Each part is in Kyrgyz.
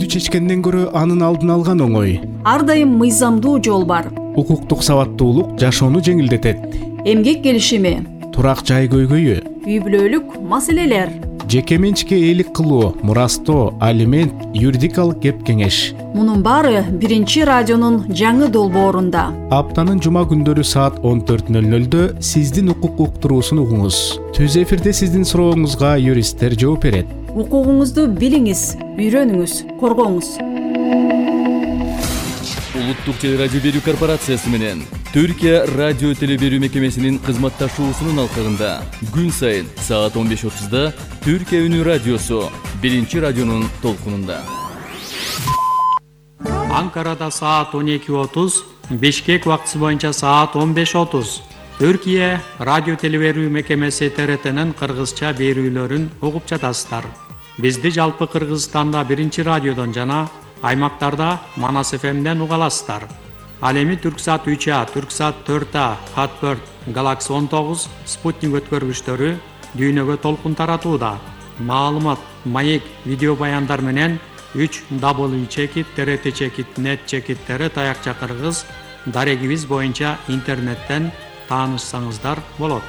чечкенден көрө анын алдын алган оңой. Ар дайым мыйзамдуу жол бар. Укуктук сабаттуулук жашоону жеңилдетет. Эмгек келишими, турак жай көйгөйү, үй бүлөлүк маселелер, жеке менчикке ээлик кылуу, мурастоо, алимент, юридикалык кеп кеңеш. Мунун баары Биринчи радионун жаңы долбоорунда. Аптанын жума күндөрү саат 14:00 сиздин укук уктуруусун угуңуз. Түз эфирде сиздин сурооңузга юристтер жооп берет. Укугуңузду билиңиз, үйрөнүңүз, коргоңуз. Улуттук теле радио берүү корпорациясы менен Түркия радио теле берүү мекемесинин кызматташуусунун алкагында күн сайын саат 15:30 Түркия үнү радиосу Биринчи радионун толкунунда. Анкарада саат 12:30, Бишкек убактысы боюнча саат 15:30. Түркия радио теле берүү мекемеси ТРТнын кыргызча берүүлөрүн угуп жатасыздар. Бизди жалпы Кыргызстанда Биринчи радиодон жана аймактарда Манас ФМден уга аласыздар. Ал эми Түрксат 3А, Түрксат 4А, Хатберт, Galaxy 19, Спутник өткөргүчтөрү дүйнөгө толкун таратууда. Маалымат, маек, видео баяндар менен 3w.trt.net таякча кыргыз дарегибиз боюнча интернеттен таанышсаңыздар болот.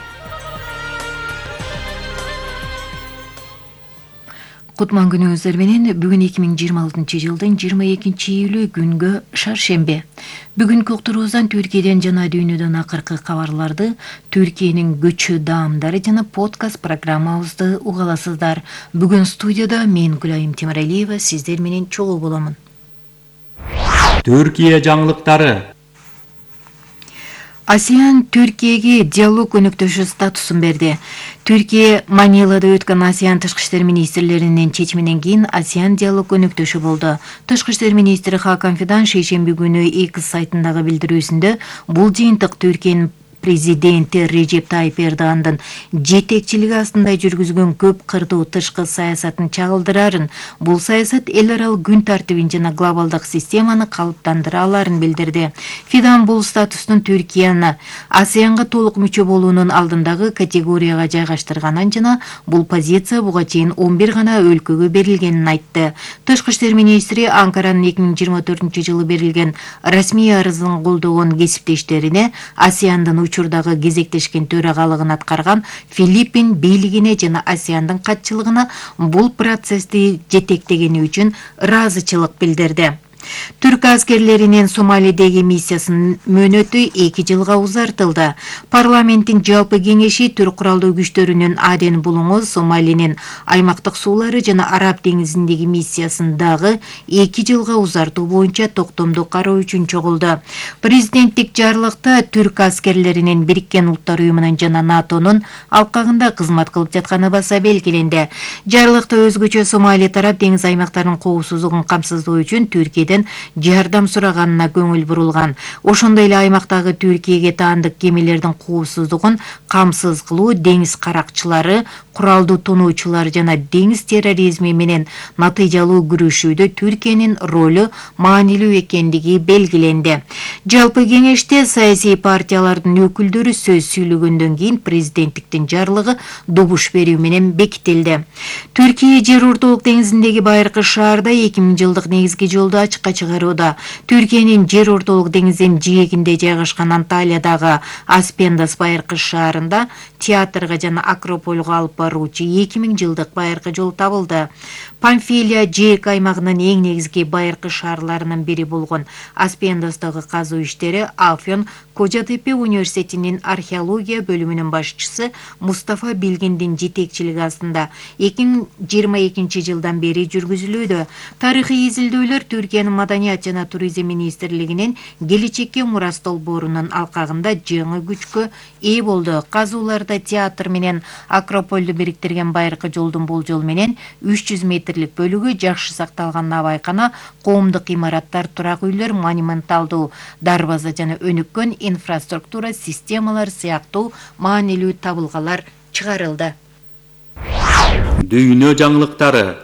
Кутман күнүңүздөр менен бүгүн 2026-жылдын 22-июлү күнгө шаршембе. Бүгүнкү уктуруубуздан Түркияден жана дүйнөдөн акыркы кабарларды, Түркиянын көчү даамдары жана подкаст программабызды угаласыздар. Бүгүн студияда мен Гүлайым Темиралиева сиздер менен чогуу боломун. Түркия жаңылыктары. ASEAN Түркияга диалог өнөктөшү статусун берди. Түркия Манилада өткөн ASEAN тышкы иштер министрлеринин чечиминен кийин ASEAN диалог өнөктөшү болду. Тышкы иштер министри Хакан Фидан шейшемби күнү X сайтындагы билдирүүсүндө бул жыйынтык Түркиянын президенти Режеп Тайип Эрдогандын жетекчилиги астында жүргүзгөн көп кырдуу тышкы саясатын чагылдырарын, бул саясат эл аралык күн тартибин жана глобалдык системаны калыптандыра аларын билдирди. Фидан бул статустун Түркияны ASEANга толук мүчө болуунун алдындагы категорияга жайгаштырганын жана бул позиция буга чейин 11 гана өлкөгө берилгенин айтты. Тышкы иштер министри Анкаранын 2024-жылы берилген расмий арызын колдогон кесиптештерине ASEANдын учурдагы кезектешкен төрагалыгын аткарган Филиппин бийлигине жана ASEANдын катчылыгына бул процессти жетектегени үчүн ыраазычылык билдирди. Түрк аскерлеринин Сомалидеги миссиясынын мөөнөтү 2 жылга узартылды. Парламенттин жалпы кеңеши Түрк куралдуу күчтөрүнүн Аден булуңу Сомалинин аймактык суулары жана Араб деңизиндеги миссиясын дагы 2 жылга узартуу боюнча токтомду кароо үчүн чогулду. Президенттик жарлыкта Түрк аскерлеринин Бириккен Улуттар уюмунун жана НАТОнун алкагында кызмат кылып жатканы баса белгиленди. Жарлыкта өзгөчө Сомали тарап деңиз аймактарынын коопсуздугун камсыздоо үчүн Түркиядан жардам сураганына көңүл бурулган. Ошондой эле аймактагы Түркияга таандык кемелердин коопсуздугун камсыз кылуу, деңиз каракчылары, куралдуу тоноочулар жана деңиз терроризми менен натыйжалуу күрөшүүдө Түркиянын ролу маанилүү экендиги белгиленди. Жалпы кеңеште саясий партиялардын өкүлдөрү сөз сүйлөгөндөн кийин президенттиктин жарлыгы добуш берүү менен бекитилди. Түркия жер ортолук деңизиндеги байыркы шаарда 2000-жылдык негизги жолду ачыкка чыгарууда. Түркиянын жер ортолук деңиздин жээгинде жайгашкан Анталиядагы Аспендас байыркы шаарында театрга жана Акропольго алып баруучу 2000-жылдык байыркы жол табылды. Памфилия жээк аймагынын эң негизги байыркы шаарларынын бири болгон Аспендастагы казуу иштери Афьон Кожа-Тепе университетинин археология бөлүмүнүн башчысы Мустафа Билгиндин жетекчилиги астында 2022-жылдан бери жүргүзүлүүдө. Тарыхый изилдөөлөр Түркиянын маданият жана туризм министрлигинин келечекке мурас долбоорунун алкагында жаңы күчкө ээ болду. Казууларда театр менен Акропольду бириктирген байыркы жолдун болжол менен 300 метрлик бөлүгү жакшы сакталганына байкана, коомдук имараттар, турак үйлөр, монументалдуу дарбаза жана өнүккөн инфраструктура системалар сыяктуу маанилүү табылгалар чыгарылды. Дүйнө жаңылыктары.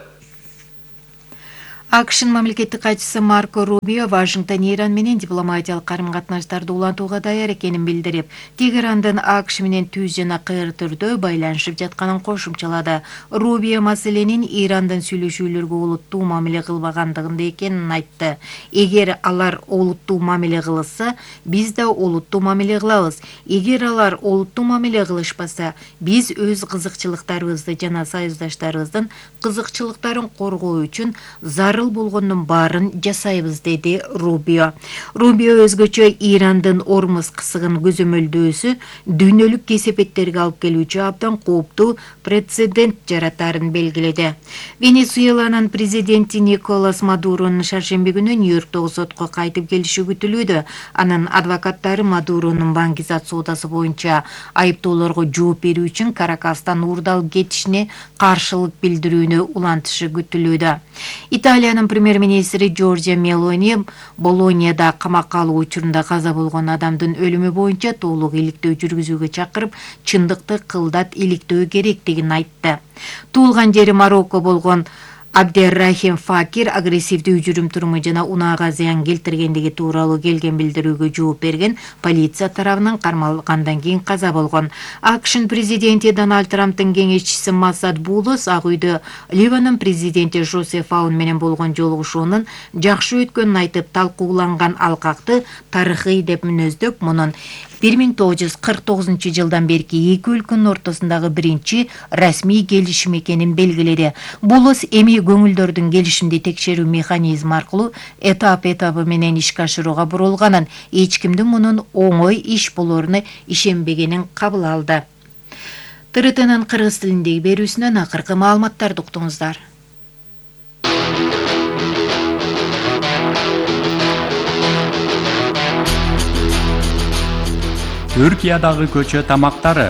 AQSh'ın мамлекеттик катчысы Марко Рубио Вашингтон Иран менен дипломатиялык карым-катнаштарды улантууга даяр экенин билдирип, Тегерандын AQSh менен түз жана кыйыр түрдө байланышып жатканын кошумчалады. Рубио маселенин Ирандын сүйлөшүүлөргө олуттуу мамиле кылбагандыгында экенин айтты. Эгер алар олуттуу мамиле кылышса, биз да олуттуу мамиле кылабыз. Эгер алар олуттуу мамиле кылышпаса, биз өз кызыкчылыктарыбызды жана союздаштарыбыздын кызыкчылыктарын коргоо үчүн зарыл болгондун баарын жасайбыз, деди Рубио. Рубио өзгөчө Ирандын Ормуз кысыгын көзөмөлдөөсү дүйнөлүк кесепеттерге алып келүүчү абдан кооптуу прецедент жаратарын белгиледи. Венесуэланын президенти Николас Мадуронун шаршемби күнү Нью-Йорктогу сотко кайтып келиши күтүлүүдө. Анын адвокаттары Мадуронун баңгизат соодасы боюнча айыптоолорго жооп берүү үчүн Каракастан уурдалып кетишине каршылык билдирүүнү улантышы күтүлүүдө. Италиянын премьер-министри Джорджия Мелони Болонияда камакка алуу учурунда каза болгон адамдын өлүмү боюнча толук иликтөө жүргүзүүгө чакырып, чындыкты кылдат иликтөө керектигин айтты. Туулган жери Марокко болгон Абдеррахим Факир агрессивдүү жүрүм-туруму жана унаага зыян келтиргендиги тууралуу келген билдирүүгө жооп берген полиция тарабынан кармалгандан кийин каза болгон. AQSh'ын президенти Дональд Трамптын кеңешчиси Масад Булус Ак үйдө Ливанын президенти Жозеф Аун менен болгон жолугушуунун жакшы өткөнүн айтып, талкууланган алкакты тарыхый деп мүнөздөп, мунун 1949 берки эки өлкөнүн ортосундагы биринчи расмий келишим экенин белгиледи. Булус эми көңүлдөрдүн келишимди текшерүү механизми аркылуу этап-этабы менен ишке ашырууга бурулганын, эч кимдин мунун оңой иш болоруна ишенбегенин кабыл алды. ТРТнын кыргыз тилиндеги берүүсүнөн акыркы маалыматтарды уктуңуздар. Түркиядагы көчө тамактары